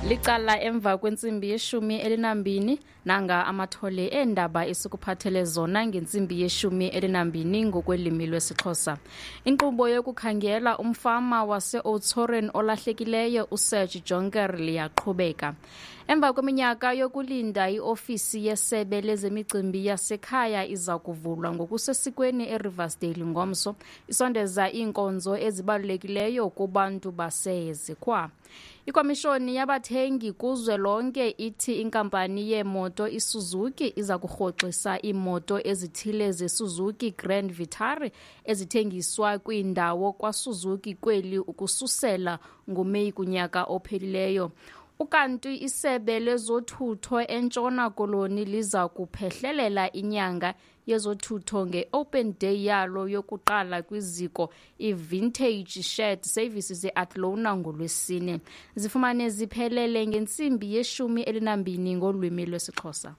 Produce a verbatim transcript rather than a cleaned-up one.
Licala emva kwentsimbi yeshumi elinambini. Nanga amathole eendaba esikuphathele zona ngentsimbi yeshumi elinambini ngokwelimi lwesiXhosa. Inkqubo yokukhangela umfama wase-Oudtshoorn olahlekileyo uSerge Jonker liyaqhubeka. Emva kweminyaka yokulinda, iofisi yesebe lezemicimbi yasekhaya iza kuvulwa ngokusesikweni eRiversdale ngomso, isondeza iinkonzo ezibalulekileyo kubantu baseZikhwa. Ikomishoni yabathengi kuzwelonke ithi inkampani yeemoto iSuzuki iza kurhoxisa iimoto ezithile zeSuzuki Grand Vitara ezithengiswa kwiindawo kwaSuzuki kweli ukususela ngoMeyi kunyaka ophelileyo. Ukanti isebe lezothutho eNtshona Koloni liza kuphehlelela inyanga yezothutho nge-Open Day yalo yokuqala kwiziko iVintage Shared Services eAthlone ngoLwesine. Zifumane ziphelele ngentsimbi yeshumi elinambini ngolwimi lwesiXhosa.